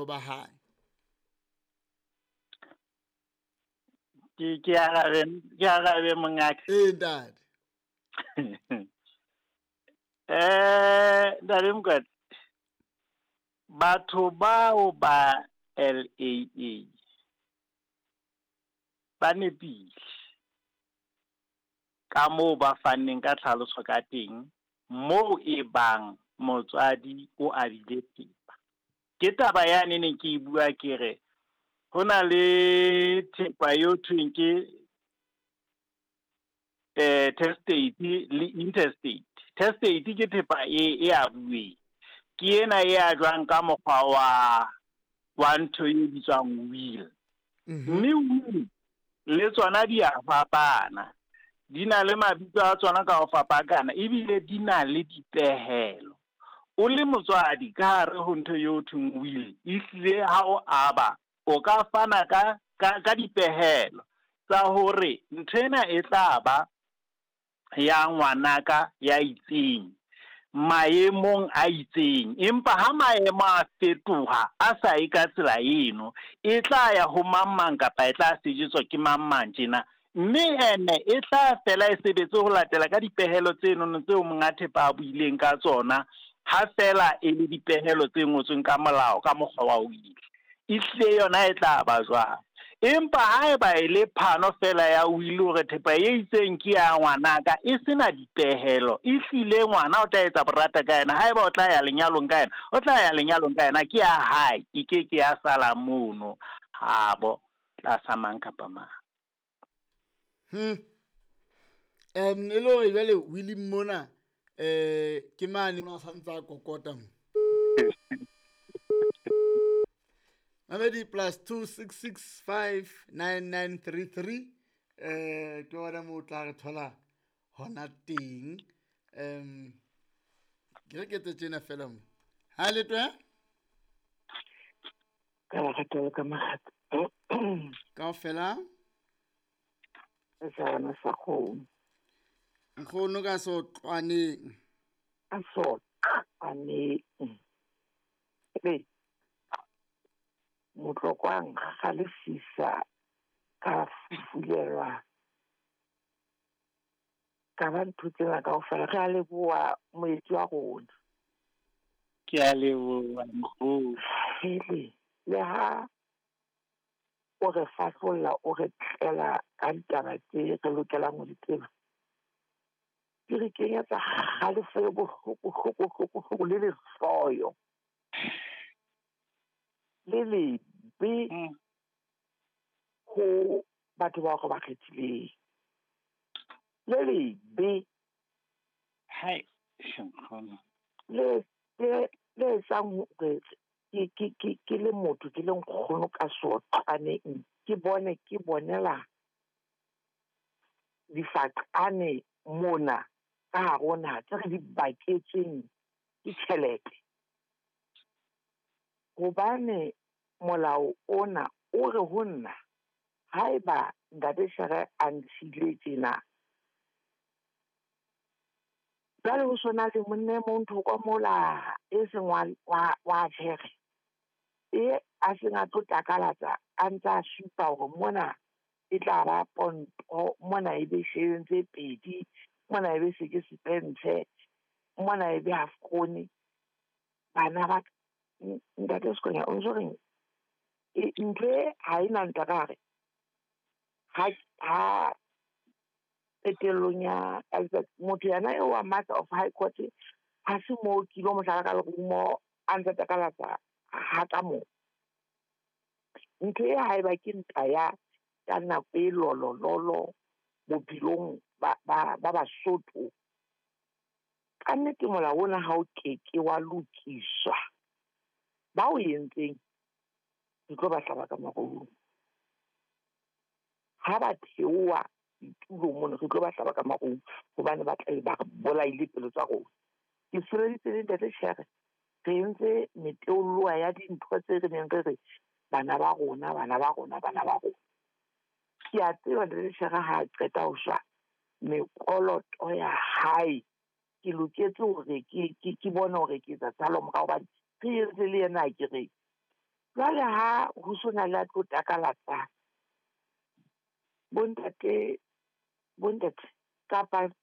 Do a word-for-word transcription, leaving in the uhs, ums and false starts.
ba hae. Ke ke arabe ke arabe mongaka. Ee ntate. Eh ntate Mokwatse, batho bao ba L A A ba nepile ka moo ba fanneng ka tlhaloso ka teng, moo e bang motswadi o abile thepa. Ke taba yane ne ke e bua ke re ho na le thepa eo thweng ke eh testate le intestate. Testate ke thepa e e abuweng, ke ena e ajwang ka mokgwa wa wa ntho e bitswang will. Mme will le tsona di a fapana, di na le mabitso a tsona ka ho fapakana, ebile di na le dipehelo. O le motswadi ka hare ho ntho eo thweng will, ehlile ha o aba o ka fana ka ka ka dipehelo tsa hore ntho ena e tla ba ya ngwanaka ya itseng maemong a itseng, empa ha maemo a fetoha a sa ye ka tsela eno, e tla ya ho mang mang kapa e tla sejetswa ke mang mang tjena, mme ene e tla fela e sebetse ho latela ka dipehelo tsenono tseo monga thepa a buileng ka tsona, ha fela e le dipehelo tse ngotsweng ka molao ka mokgwa wa will. Ehlile yona e tla ba jwang. Empa haeba e le phano fela ya will hore thepa e itseng ke ya ngwanaka e sena dipehelo, ehlile ngwana o tla etsa borata ka yena. Haeba o tla ya lenyalong ka yena, o tla ya lenyalong ka yena, ke ya hae, e ke ke ya sala mono habo tlasa mang kapa mang. Hmm. Um e le hore jwale will mona eh ke mane o sa ntsa kokota mo. Mamedi plus two six six five nine nine three three eh ke wona mo tla re thola hona teng. Um ke re ke tsena fela mo. Ha le twe? Ka la ratela ka mahat. Ka fela? Sa na sa go. Nkgono ka so tlwaneng. A so tlwaneng. Be Motlokwang ga le fisa ka fufulelwa ka ba ntho tsena kaofela. Re a leboha moetsi wa rona. Ke a leboha nkgono. Hele, le ha o re fahlolla, o re tlela ka ditaba tse re lokelang ho di tseba, di re kenyetsa kgalefo e bohloko, hloko, hloko, hloko le lehloyo le lebe ho batho bao re ba kgethileng, le lebe hai nkgono le le le etsang hore ke ke ke ke le motho ke le nkgono ka soqaneng, ke bone ke bonela difaqane mona ka hare ho naha tse re di baketsweng ke tjhelete. Hobane molao ona o re ho nna haeba ntate Shere a ntshile tjena, jwale ho sona le monna e mong thoko mola e seng wa wa wa Shere, e a seng a tlo takalatsa a ntse a supa hore mona e tla ba ponto, mona e be shilling tse pedi, mona e be seke sepentshe, mona e be half krone. Bana ba ntate Sekonya o ntso reng e ntho e ha e na ntwa ka hare ha ha qetellong ya motho yena eo wa Master of High Court ha se moo kilo mohlala ka lerumo a ntse takalatsa ha ka moo. Ntho e haeba ke ntwa ya ka nako e lolololo bophelong ba ba ba Basotho, ka nnete molao ona ha o keke wa lokiswa, ba o entseng re tlo ba hlaba ka marumo. Ha ba theoha ditulong mona re tlo ba hlaba ka marumo, hobane ba tla be ba re bolaile pelo tsa rona. Ke sebeditse le ntate Shere, re entse meteolloa ya dintho tse re neng re re bana ba rona, bana ba rona, bana ba rona. Ke a tseba ntate Shere ha a qeta ho shwa, mekoloto ya hae ke loketse hore ke ke ke bone hore ke etsa tshalo morao, hobane re entse le yena ke re Jwale ha ho sona le a tlo takalatsa, bontate, bontate kapa